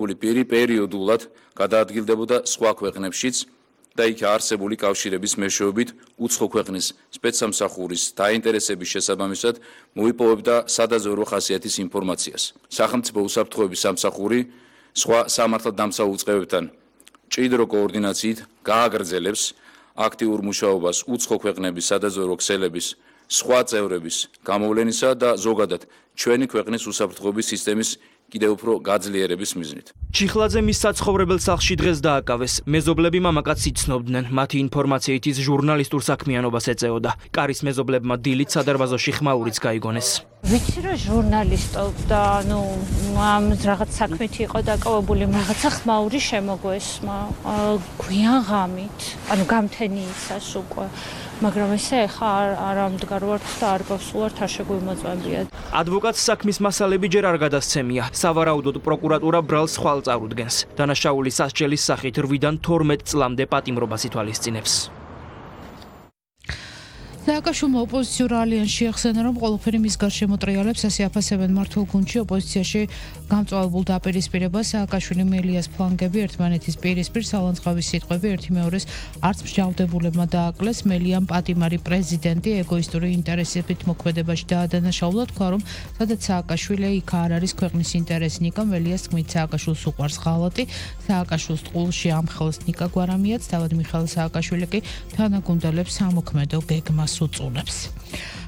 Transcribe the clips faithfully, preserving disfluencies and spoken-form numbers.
პირი პერიოდულად გადაადგილდებოდა სხვა ქვეყნებშიც და იქ არსებული კავშირების მეშვეობით უცხო ქვეყნის სპეცსამსახურის დაინტერესების შესაბამისად მოიპოვებდა სადაზვერვო ხასიათის ინფორმაციას. სახელმწიფო უსაფრთხოების სამსახური სხვა სამართალდამცავ უწყებებთან მჭიდრო კოორდინაციით გააგრძელებს აქტიურ მუშაობას უცხო ქვეყნების სადაზვერვო ქსელების სხვა წევრების გამოვლენისა და ზოგადად ჩვენი ქვეყნის უსაფრთხოების სისტემის კიდევ უფრო გაძლიერების მიზნით. ჩიხლაძე მის საცხოვრებელ სახლში დღეს დააკავეს. მეზობლები მამაკაცს იცნობდნენ. მათი ინფორმაციით ის ჟურნალისტურ საქმიანობას ეწეოდა. კარის მეზობლებმა დილით სადარბაზოში ხმაურიც გაიგონეს. ვიცი რომ ჟურნალისტობდა, ну, ამ რაღაც საქმით იყო დაკავებული, რაღაცა ხმაური შემოგვესმა. გვიან ღამით, ანუ გამთენიისას უკვე. მაგრამ ესე ხა არ ამდგარ ვართ და არ გავსულართ არ შეგვიმოწმებიათ. ადვოკატს საქმის მასალები ჯერ არ გადასცემია. სავარაუდოდ პროკურატურა ბრალს ხვალ წარუდგენს. დანაშაულის სასჯელის სახით რვიდან თორმეტ წლამდე პატიმრობას ითვალისწინებს. სააკაშვილმა ოპოზიციურ ალიანსში ახსენა, რომ ყველაფერი მის გარშემო ტრიალებს, ასე აფასებენ მართულ გუნდში ოპოზიციაში გამწვალებულ დაპირისპირებას. სააკაშვილი მელიას ფლანგები ერთმანეთის პირისპირ სალანძღავის სიტყვები ერთი მეორეს არც მსჯავრდებულებმა დააკლეს. მელიამ პატიმარი პრეზიდენტი ეგოისტური ინტერესებით მოქმედებაში დაადანაშაულა, თქვა, რომ სადაც სააკაშვილი იქ არ არის ქვეყნის ინტერესი. ნიკა მელიას თქმით, სააკაშვილს უყვარს ღალატი. სააკაშვილს ტყუილში ამხელს ნიკა გვარამიაც, თავად მიხეილ სააკაშვილი კი თანაგუნდელებს სამოქმედო გეგმას უწუნებს.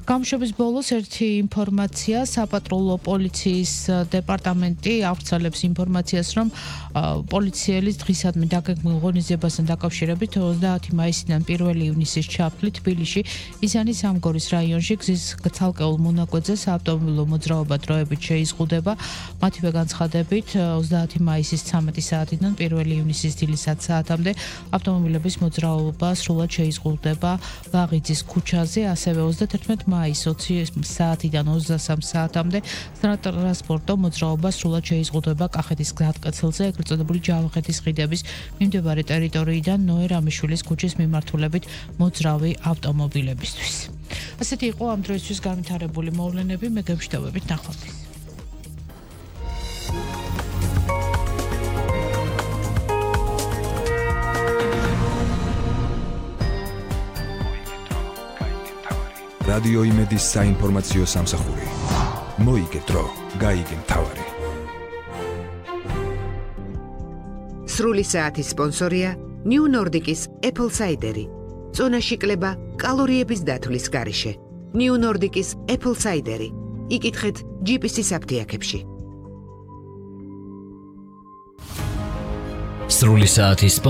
გამშვების ბოლოს ერთი ინფორმაცია, საპატრულო პოლიციის დეპარტამენტი ავრცელებს ინფორმაციას, რომ პოლიციელის დღისადმი დაგეგმილ ღონისძიებასთან დაკავშირებით ოცდაათი მაისიდან პირველი ივნისის ჩაფლით თბილისში იზანის სამგორის რაიონში გზის ცალკეულ მონაკვეთზე საავტომობილო მოძრაობა დროებით შეიზღუდება. მათივე განცხადებით ოცდაათი მაისის ცამეტი საათიდან პირველი ივნისის დილის ათი საათამდე ავტომობილების მოძრაობა სრულად შეიზღუდება ლაღიძის ქუჩაზე, ასევე ოცდათერთმეტი მაისის ოცი საათიდან ოცდასამი საათამდე ტრანსპორტო მოძრაობა სრულად შეიზღუდება კახეთის გზატკეცილზე, ეგრეთ წოდებული ჯავახეთის ხიდების მიმდებარე ტერიტორიიდან ნოე რამიშვილის ქუჩის მიმართულებით მოძრავი ავტომობილებისთვის. ასეთი იყო ამ დროისთვის განვითარებული მოვლენები, მე გემშვიდობებით ნახვამდის. რადიო იმედის საინფორმაციო სამსახური. მოიგეთრო, გაიგე მთავარი. სრული საათის სპონსორია New Nordic-ის Apple Cider-ი. წონაში კლება კალორიების დათვლის გარეშე. New Nordic-ის Apple Cider-ი. იკითხეთ ჯი პი სი-ის აფთიაქებში. სრული საათის